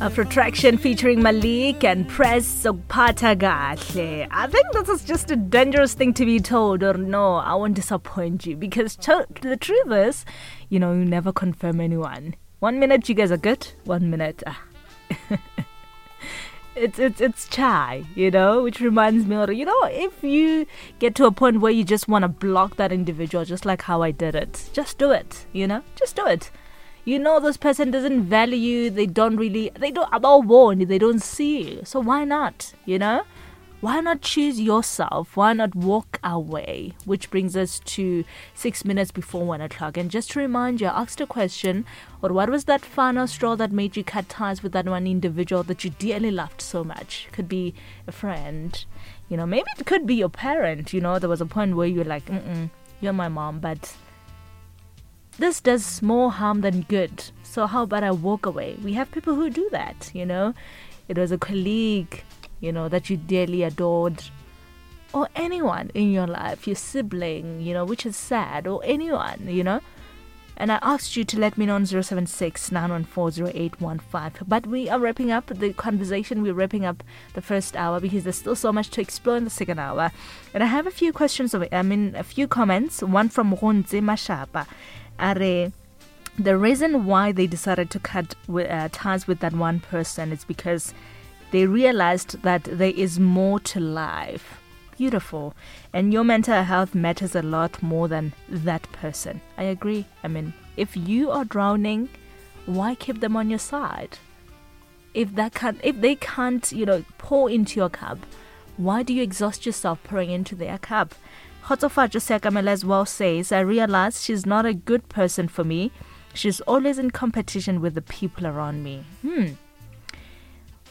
Afrotraction featuring Malik and Press Sokpata Gahle. I think this is just a dangerous thing to be told, or no, I won't disappoint you because the truth is, you know, you never confirm anyone. One minute you guys are good, one minute. Ah. it's it's it's chai, you know, which reminds me of you know, if you get to a point where you just want to block that individual, just like how I did it, just do it, you know, just do it you know this person doesn't value you they don't really they don't about warn they don't see you so why not you know why not choose yourself? Why not walk away? Which brings us to six minutes before one o'clock. And just to remind you, I asked a question or what was that final straw that made you cut ties with that one individual that you dearly loved so much? Could be a friend, you know, maybe it could be your parent. You know, there was a point where you're like, mm you're my mom, but this does more harm than good. So how about I walk away? We have people who do that, you know. It was a colleague, you know, that you dearly adored, or anyone in your life, your sibling, you know, which is sad, or anyone, you know. And I asked you to let me know on 076 914 But we are wrapping up the conversation. We're wrapping up the first hour because there's still so much to explore in the second hour. And I have a few questions, of, I mean, a few comments. One from Ronze Mashapa. Are the reason why they decided to cut ties with that one person is because they realized that there is more to life. Beautiful. And your mental health matters a lot more than that person. I agree. I mean, if you are drowning, why keep them on your side? If that can't, if they can't, you know, pour into your cup, why do you exhaust yourself pouring into their cup? Khotsofatso Sekamela as well says, I realize she's not a good person for me. She's always in competition with the people around me.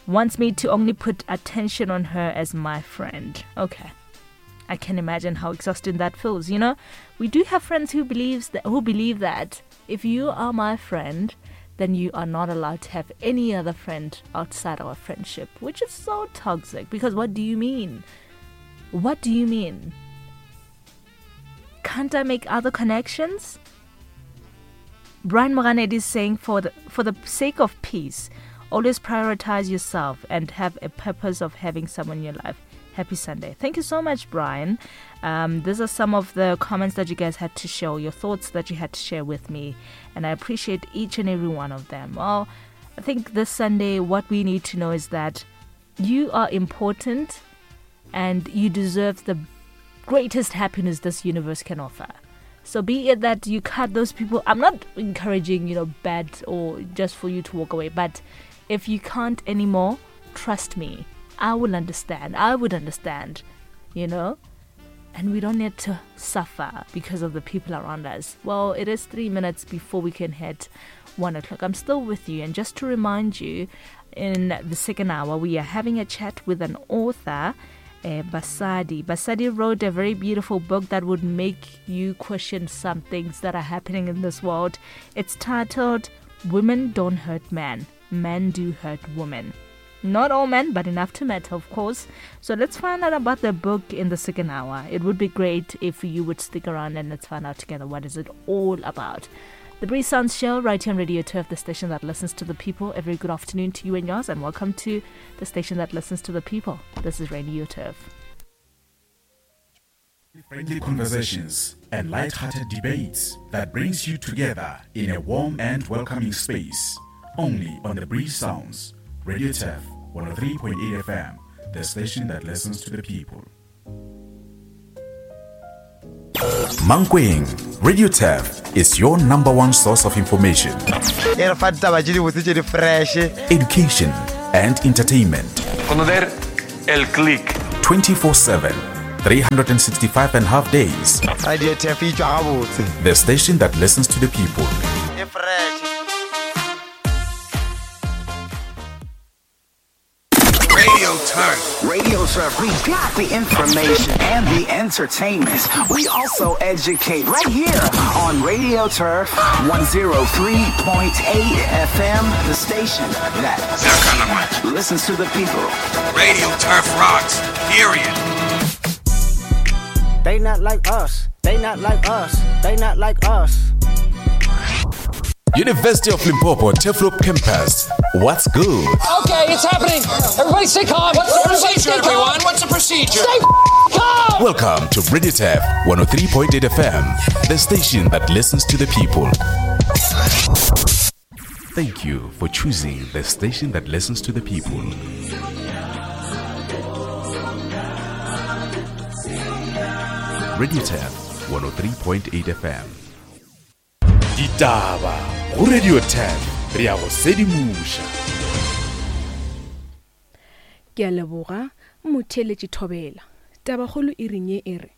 Wants me to only put attention on her as my friend. Okay. I can imagine how exhausting that feels, you know? We do have friends who believes that who believe that if you are my friend, then you are not allowed to have any other friend outside our friendship, which is so toxic because what do you mean? What do you mean? Can't I make other connections? Brian Moranet is saying for the, for the sake of peace, always prioritize yourself and have a purpose of having someone in your life. Happy Sunday. Thank you so much, Brian. Um, these are some of the comments that you guys had to show, your thoughts that you had to share with me, and I appreciate each and every one of them. Well, I think this Sunday, what we need to know is that you are important and you deserve the greatest happiness this universe can offer. So be it that you cut those people, I'm not encouraging, you know, bad or just for you to walk away, but if you can't anymore, trust me, I will understand. I would understand, you know? And we don't need to suffer because of the people around us. Well, it is three minutes before we can hit one o'clock. I'm still with you. And just to remind you, in the second hour, we are having a chat with an author uh, Basadi. Basadi wrote a very beautiful book that would make you question some things that are happening in this world. It's titled Women Don't Hurt Men, Men Do Hurt Women. Not all men, but enough to matter, of course. So let's find out about the book in the second hour. It would be great if you would stick around and let's find out together what is it all about. The Breeze Sounds Show right here on Radio Turf, the station that listens to the people. Every good afternoon to you and yours, and welcome to the station that listens to the people. This is Radio Turf. Friendly conversations and light-hearted debates that brings you together in a warm and welcoming space. Only on the Breeze Sounds, Radio Turf 103.8 FM, the station that listens to the people. Mankweng, Radio Turf is your number one source of information. E re fa ditaba tše dibotse tše di fresh. Education and entertainment. Conocer el click. 24-7, 365 and a half days. Radio Turf e tšwa gabotse. The station that listens to the people. E fresh. Radio Turf. Radio Turf, we got the information and the entertainment. We also educate right here on Radio Turf 103.8 FM, the station that listens to the people. Radio Turf rocks, period. They not like us. They not like us. They not like us. University of Limpopo Turfloop Campus. What's good? Okay, it's happening. Everybody stay calm. What's the Everybody procedure, stay calm. everyone? What's the procedure? Stay calm. Welcome to Radio Turf 103.8 FM, the station that listens to the people. Thank you for choosing the station that listens to the people. Radio Turf 103.8 FM. Ditaba go Radio Turf re a go sedimoša. Ke a leboga motheeletši Thobela. Tabakgolo e reng ye e re,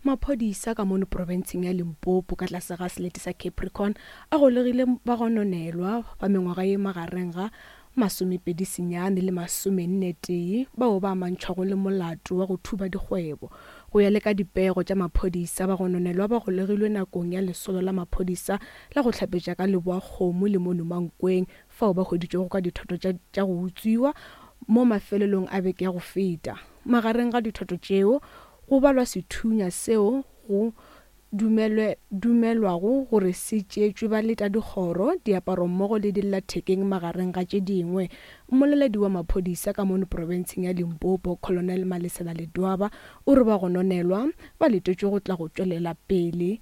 Maphodisa ka mono profenseng ya Limpopo ka tlase ga selete sa Capricorn a golegile bagononelwa ba mengwaga ye magareng ga masomepedi senyane le masomenne tee bao ba amantšhwago le molato wa go thuba dikgwebo. Go ya le ka dipego tša maphodisa, bagononelwa ba golegilwe nakong ya lesolo la maphodisa la go hlapetša ka Leboakgomo le mono Mankweng fao ba hweditšwego ka dithoto tša tša go utswiwa mo mafelelong a beke ya go feta. Magareng ga dithoto tšeo go balwa sethunya seo go dumelwe, dumelwago gore se tšeetšwe baletadikgoro, diaparo mmogo le dillathekeng magareng ga tše dingwe. Mmoleledi wa maphodisa ka mono profenseng ya Limpopo, Colonel Malesela Ledwaba, o re bagononelwa ba letetšwe go tla go tšwelela pele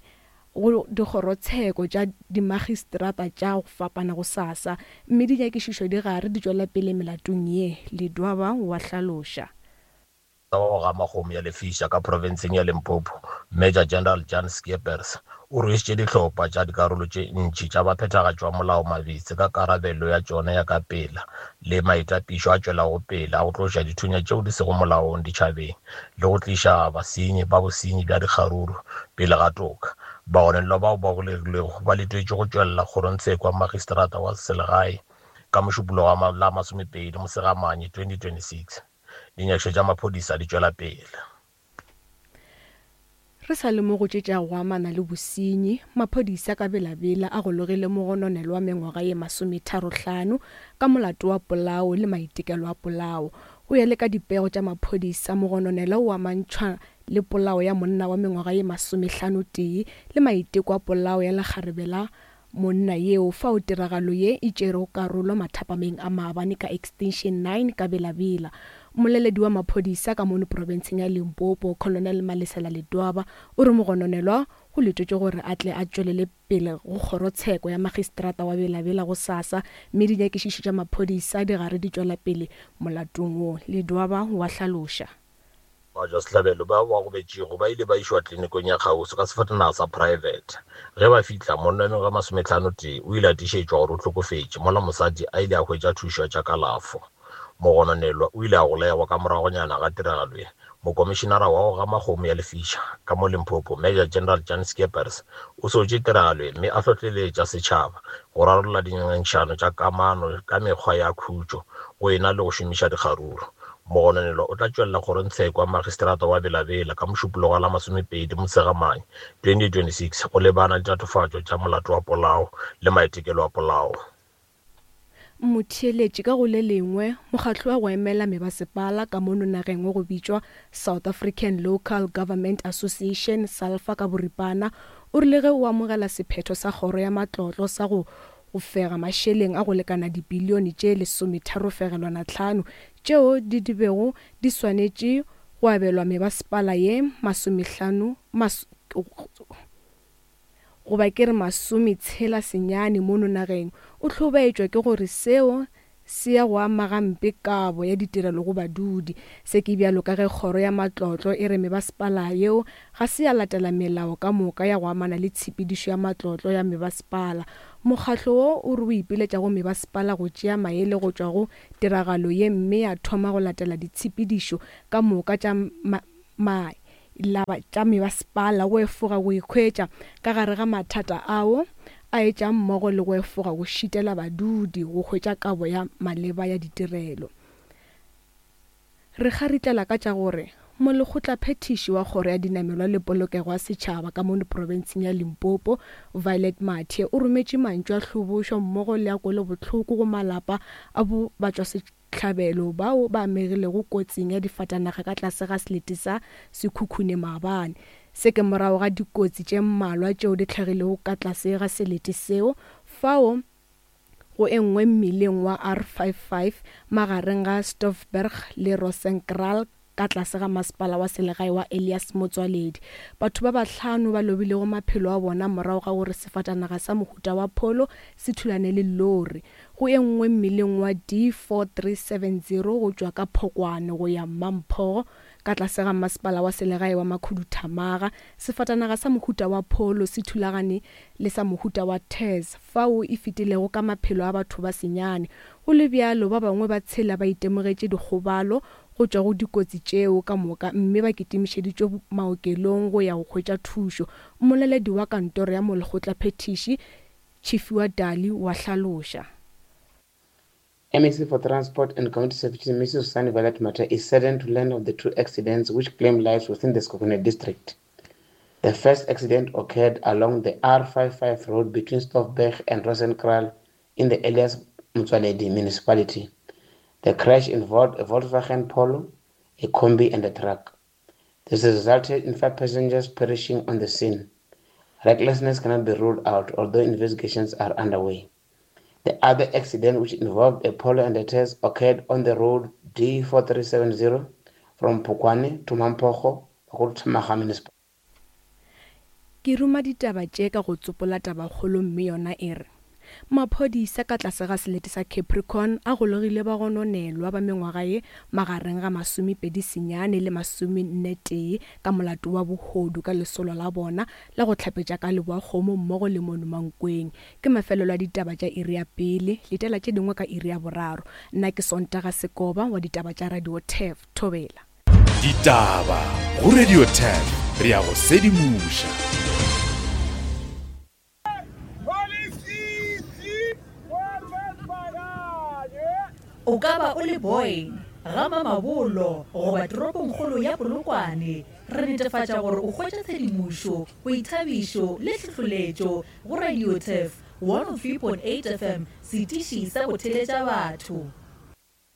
go dikgorotsheko tša dimagistrata tša go fapana gosasa, mme dinyakišišo di gare di tšwela pele melatong ye, Ledwaba wa hlaloša. Wa go gama kgomo ya lefiša ka profenseng ya Limpopo, Major General Jan Scheepers, o rwešitše dihlopha tša dikarolo tše ntši tša baphethagatši ba molao mabitsi ka karabelo ya tšona ya ka pela le maitapišo a tšwelago pele a go tloša dithunya tšeo di sego molaong ditšhabeng le go tliša basenyi ba bosenyi bja dikgaruru pele ga toka. Bagononelwa bao ba golegilwego ba letetšwe go tšwelela kgorongtsheko ya magistrata wa selegae ka Mošupologo wa la masomepedi Mosegamanye 2026. Dinyakišo tša maphodisa di tšwela pele. Re sa le mo go tše tša go amana le bosenyi, maphodisa ka Bela-Bela a gologile mogononelwa wa mengwaga ye masometharohlano ka molato wa polao le maitekelo a polao. Go ya le ka dipego tša maphodisa, mogononelwa o amantšhwa le polao ya monna wa mengwaga ye masomehlanotee le maiteko a polao ya lekgarebe la Monna yeo fao tiragalo ye e tšerego karolo mathapameng a maabane ka Extension 9 ka Bela-Bela. Mmoleledi wa maphodisa ka mono profenseng ya Limpopo, Colonel Malesela Ledwaba, o re mogononelwa go letetšwe gore a tle a tšwelele pele go kgorotsheko ya magistrata wa Bela-Bela gosasa mme dinyakišišo tša maphodisa di gare di tšwela pele molatong wo, Ledwaba wa hlaloša. Batšwasehlabelo bao ba gobetšego ba ile ba išwa klinikong ya kgauswi ka sefatanaga sa praebete. Ge ba fihla, monna wa mengwaga e masometlhanotee o ile a tiišetšwa gore o hlokofetše, mola mosadi a ile a hwetša thušo ya tša kalafo. Mogononelwa o ile a golegwa ka moragonyana ga tiragalo ye. Mokomišinara wa go gama kgomo ya lefiša ka mo Limpopo, Major General Jan Scheepers, o sotše tiragalo ye mme a hlohleletša setšhaba go rarolla dingangišano tša kamano ka mekgwa ya khutšo go e na le go šomiša dikgaruru. Mogononelwa o tla tšwelela kgorongtsheko ya magistrata wa Bela-Bela ka Mošupologo wa la masomepedi Motshegamang 2026 go lebana le tatofatšo tša molato wa polao le maitekelo a polao. Motheeletši ka go le lengwe, mokgatlo wa go emela mebasepala ka mono nageng wa go bitšwa South African Local Government Association, SALFA ka boripana, o rile ge o amogela sephetho sa kgoro ya matlotlo sa go go fega mašeleng a go lekana dibilione tše lesometharofegelwana-tlhano tšeo di di bego di swanetše go abelwa mebasepala ye masomehlano mas goba ke re masometshela senyane mono nageng, o hlobaetšwa ke gore seo se ya go ama gampe kabo ya ditirelo go badudi. Se ke bjalo ka ge kgoro ya matlotlo e re mebasepala yeo ga se ya latela melao ka moka ya go amana le tshepedišo ya matlotlo ya mebasepala. Mokgatlo wo o re o ipiletša go mebasepala go tšea maele go tšwa go tiragalo ye mme ya thoma go latela ditshepedišo ka moka tša tša mebasepala go efoga go ikhwetša ka gare ga mathata ao a etšang mmogo le go efoga go šitela badudi go hwetša kabo ya maleba ya ditirelo. Re kgaritlela ka tša gore Molekgotlaphethiši wa Kgoro ya Dinamelwa le Polokego ya Setšhaba ka mono profenseng ya Limpopo, Violet Mathe, o rometše mantšu a hlobošo mmogo le a kwelobohloko go malapa a bo batšwasehlabelo bao ba amegilego kotsing ya difatanaga ka tlase ga selete sa Sekhukhune maabane. Se ke morago ga dikotsi tše mmalwa tšeo di hlagilego ka tlase ga selete seo fao. Go e nngwe mmileng wa R55 magareng ga Stoffberg le Rosenkraal ka tlase ga masepala wa selegae wa Elias Motsoaledi. Batho ba bahlano ba lobilego maphelo a bona morago ga gore sefatanaga sa mohuta wa Polo se thulane le lori. Go e nngwe mmileng wa D4370 go tšwa ka Phokwane go ya Mmamphogo ka tlase ga masepala wa selegae wa Makhuduthamaga, sefatanaga sa mohuta wa Polo se thulagane le sa mohuta wa Tazz fao e fetilego ka maphelo a batho ba senyane. Go le bjalo, ba bangwe ba tshela ba itemogetše dikgobalo go tšwa go dikotsi tšeo ka moka mme ba kitimišeditšwe maokelong go ya go hwetša thušo, mmoleledi wa kantoro ya molekgotlaphethiši Tshifhiwa Dali wa hlaloša. MEC for Transport and Community Services Mrs. Sunny Violet Mathe is saddened to learn of the two accidents which claimed lives within the Sekhukhune district. The first accident occurred along the R55 road between Stoffberg and Rosenkraal in the Elias Motsoaledi municipality. The crash involved a Volkswagen Polo, a combi and a truck. This resulted in five passengers perishing on the scene. Recklessness cannot be ruled out, although investigations are underway. The other accident, which involved a Polo and a Tazz, occurred on the road D4370 from Phokwane to Mampogo, Makhuduthamaga Municipality. Ke ruma ditaba tše ka go tsopola tabakgolo mme yona e re, Maphodisa ka tlase ga selete sa Capricorn a golegile bagononelwa ba mengwaga ye magareng ga masomepedi senyane le masomennetee ka molato wa bohodu ka lesolo la bona la go hlapetša ka leboakgomo mmogo le mono Mankweng. Ke mafelelo a ditaba tša iri ya pele, letela tše dingwe ka iri ya boraro. Nna ke Sontaga Sekoba wa ditaba tša Radio Turf. Thobela. Ditaba go Radio Turf, re a go sedimoša. O ka ba o le Boyne, ga Mamabolo goba toropongkgolo ya Polokwane, re netefatša gore o hwetša tshedimošo, boithabišo le tlhohloletšo go Radio Turf 103.8 FM, setiši sa go theletša batho.